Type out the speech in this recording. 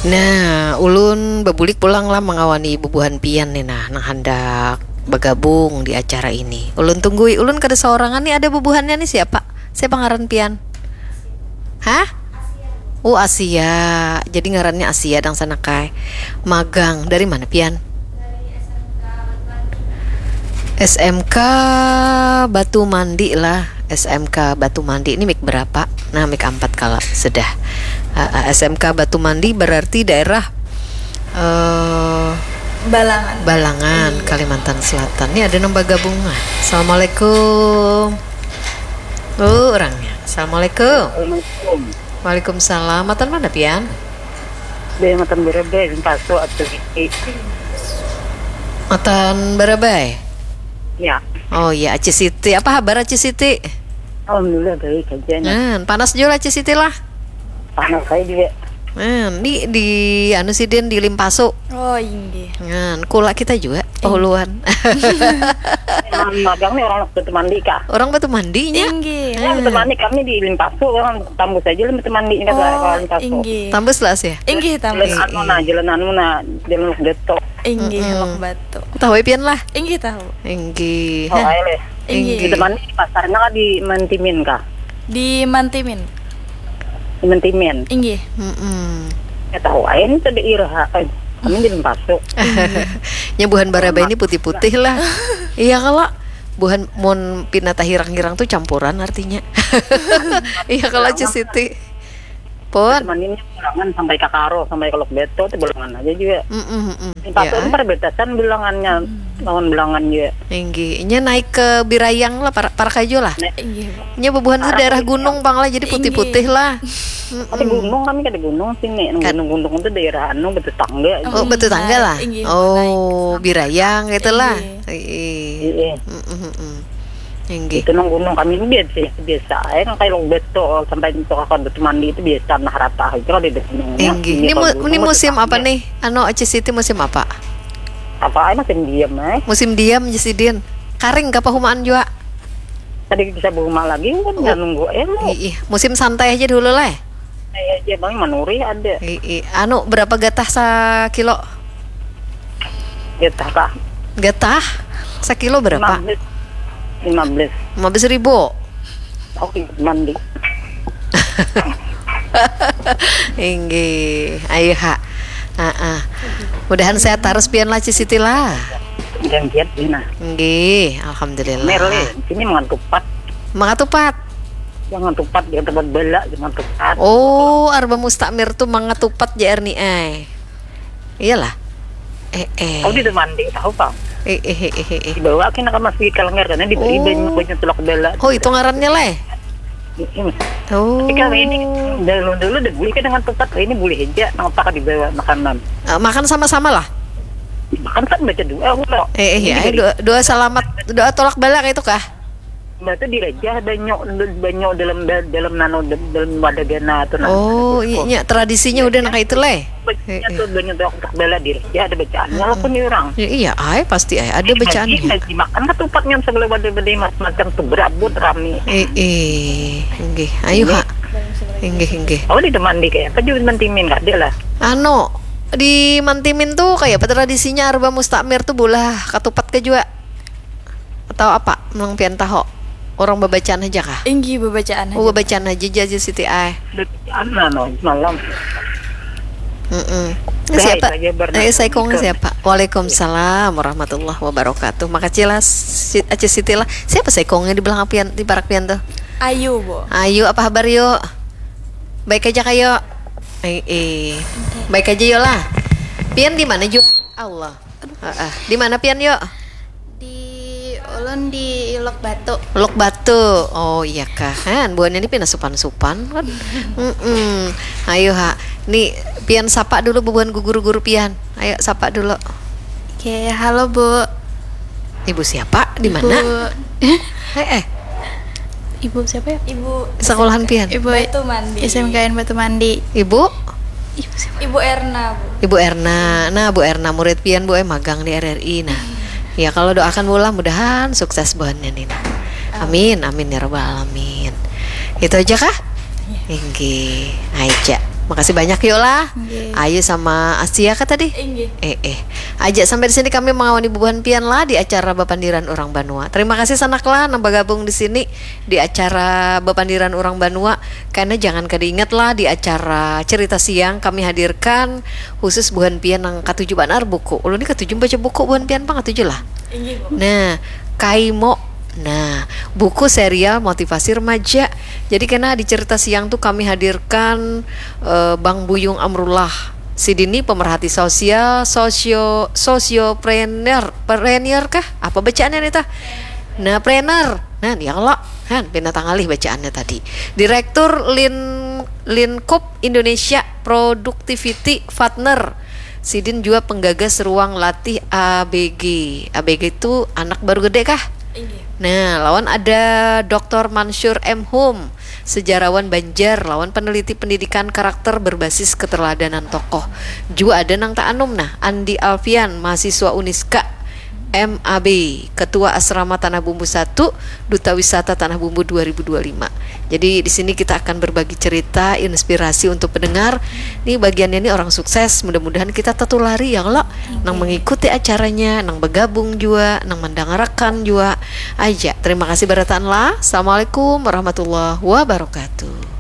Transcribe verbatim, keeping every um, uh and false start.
Nah, ulun babulik pulang lah mangawani bubuhan pian nih nah, nang handak bagabung di acara ini. Ulun tunggui, ulun kada saorangan nih, ada bubuhannya nih, siapa? Siapa ngaran pian? Hah? Oh, Asia. Jadi ngarannya Asia dang sana kai. Magang dari mana pian? S M K Batu Mandi lah. S M K Batu Mandi ini mik berapa? Nah, mik ampat kala sudah. Ah, ah, S M K Batu Mandi berarti daerah eh Balangan. Balangan, Iya. Kalimantan Selatan. Ini ada nang bagabung lah. Assalamualaikum. Oh, orangnya. Assalamualaikum. Assalamualaikum. Waalaikumsalam. Matan mana pian? Dia matan Barabai, Limpaso, atau Siti. Matan Barabai. Ya, Oh iya, Aci Siti. Apa habar Aci Siti? alhamdulillah baik aja nah. Hmm, panas juga Aci Siti lah. Panas saya juga. Hmm, di di anu sidin di Limpaso. Oh, inggih. Nah, kula kita juga pahuluan. Nah, magang nih orang Batu Mandi kah? Orang Batu Mandinya. Inggih. Orang Batu Mandi kami di Limpaso, orang tambus aja lah Batu Mandi ini kata Oh, orang Limpaso. Inggih. Tambus lah sih. Inggih, tambus. Jalan anu nah, jalan anu nah, jalan Lok Detok. Inggih, Mm-mm. Lok Batu. Tahu ya pian lah. Inggih, tahu. Inggih. Oh, ayo leh. Inggih. Di Batu Mandi pasarnya kan di Mantimin kah? Di Mantimin. Di Mantimin. Inggih. Mm-mm. Ya tahu aja ini tadi iraha. Eh, kami di Limpaso. Nya buhan Barabai ini putih-putih lah. Iya kalau buhan mun pina tahirang-hirang tuh campuran artinya. Iya kalau Aci Siti. Pun. Cuman ini Bulangan sampai ke Karo, sampai ke Lok Beto itu Bulangan aja juga. Mm-mm, mm-mm. Limpaso Ya. Itu perbatasan Bulangannya lawan Bulangan juga. Inggih. Inya naik ke Birayang lah para para kajo lah. Inggih, Bu. Nya bubuhan itu daerah gunung pang lah jadi putih-putih lah. Ada gunung kami ada gunung sini. Yang Kat- Gunung-gunung itu daerah anu betetangga. Oh, betul tangga lah. Inggih, Oh, Birayang gitu lah. Inggih. Iya. Iya. Mm-mm, mm-mm. Inggih. Itu nang gunung kami ini biasa biasa aja nang kayak Lok Beto sampai itu kakak Batu Mandi itu biasa nah rata aja kalau di gunungnya. Inggih. Iya, Ini kalau mu- gunung ini mah musim apa tetangga. Nih? Anu Aci Siti musim apa? Apa aja musim diam eh. Musim diam Aci Sidin. Karing kah pahumaan jua? Tadi bisa berumah lagi kan nggak nunggu eh lu. Ih, musim santai aja dulu lah. Saya aja bang manuri ada. Ih, anu berapa gatah sakilo? Getah kah? Gatah sakilo berapa? Lima belas. Lima belas. Lima belas ribu. Oke mandi. Inggih, ayo ha. Ah, ah. Mudahan sehat terus pian lah Ci Siti lah. Dan giat Dina. Inggih, alhamdulillah. Merle, sini mangan tupat. Mangatupat. Jangan tupat, jangan tupat bela, jangan tupat. Oh, Arba Mustakmir tuh mangatupat J R ni ai. Iyalah. Eh, eh. Kau di mandi tahu kang? Eh, eh, eh, eh, eh. Dibawa kena ke masjid Kalenggar karena diberi Oh. banyak banyak tulak bela. Oh, itu ngarannya leh. Ini. Oh. Tapi kalau ini dulu dulu udah boleh kan dengan tupat, ini boleh aja. Kenapa dibawa makanan? Eh, makan sama-sama lah. Makan kan baca doa ulo. Eh, eh, ya, eh, doa, doa selamat, doa tolak bala kayak itu kah? Batu dirajah banyak banyak dalam dalam nano dalam wadah gana atau nano. Oh, iya, iya, tradisinya udah nang kayak itu leh. Bacanya tuh banyak doa untuk bela diri. Ya ada bacaannya lah pun nih orang. Ya, iya, ai pasti ai ada bacaannya. Lagi dimakan ketupatnya sebelum ada beli mas macam tuh berabut rame. Eh, eh, inggih, ayo ha. Inggih, inggih. Oh di teman di kayak apa juga mentimin nggak ada lah. Anu, di Mantimin tuh kayak apa tradisinya Arba Mustakmir tuh bolah katupat ke jua? Atau apa? Nang pian tahu? Orang babacaan aja kah? Inggih babacaan Oh, babacaan aja aja Siti ai. Bacaan lah no malam. Mm-mm. Dah, Siapa? Itu aja, Bernard. Eh, saikongnya Ikut. Siapa? Waalaikumsalam warahmatullahi wabarakatuh. Makasih lah, si Aci Siti lah. Siapa saikongnya di belakang pian, di parak pian tuh? Ayu, Bu. Ayu, apa kabar yuk? Baik aja kayo. Eh, eh. Baik aja yuk lah. Pian di mana juga? Allah. Heeh. Di mana pian yuk? Di ulun di Lok Batu. Lok Batu. Oh iya kah. Han, buahnya ini pina supan-supan kan. Mm-mm. Ayo ha. Nih pian sapa dulu bubuhan guguru-guru pian. Ayo sapa dulu. Oke, halo Bu. Ibu siapa? Di mana? Ibu, Eh, eh. Ibu siapa ya? Ibu Sekolahan pian. Ibu Batu Mandi. S M K N Batu Mandi. Ibu? Ibu siapa? Ibu Erna, Bu. Ibu Erna. Nah, Bu Erna murid pian Bu eh magang di R R I. Nah. Ya kalau doakan bola mudahan sukses buhannya nih. Nah. Amin, amin ya rabbal alamin. Itu aja kah? Inggih, aja. Makasih banyak yo lah. Nggih. Ayu sama Asia kah tadi? Inggih. Eh eh. Aja sampai di sini kami mangawani bubuhan pian lah di acara Bapandiran Urang Banua. Terima kasih sanak lah nang bagabung di sini di acara Bapandiran Urang Banua. Karena jangan kada ingat lah di acara cerita siang kami hadirkan khusus buhan pian nang katuju banar buku. Ulun ni katuju baca buku buhan pian pang katuju lah. Inggih, Bu. Nah, Kaimo. Nah, buku serial motivasi remaja. Jadi kena di cerita siang tuh kami hadirkan eh, Bang Buyung Amrullah. Sidin ni pemerhati sosial, sosio sosiopreneur, preneur kah? Apa bacaannya nih tah? Nah, preneur. Nah, ya Allah. Han, pina tangalih bacaannya tadi. Direktur Lin Linkup Indonesia Productivity Partner. Sidin juga penggagas ruang latih A B G. A B G itu anak baru gede kah? Inggih. Nah, lawan ada Doktor Mansur M Hum, sejarawan Banjar, lawan peneliti pendidikan karakter berbasis keteladanan tokoh. Juga ada nang tak anum nah, Andi Alfian, mahasiswa Uniska, M A B, Ketua Asrama Tanah Bumbu satu, Duta Wisata Tanah Bumbu dua ribu dua puluh lima. Jadi di sini kita akan berbagi cerita, inspirasi untuk pendengar. Nih bagiannya nih orang sukses, mudah-mudahan kita tertulari ya kalau nang mengikuti acaranya, nang bergabung juga, nang mendangarakan juga aja. Terima kasih barataan lah. Assalamualaikum warahmatullahi wabarakatuh.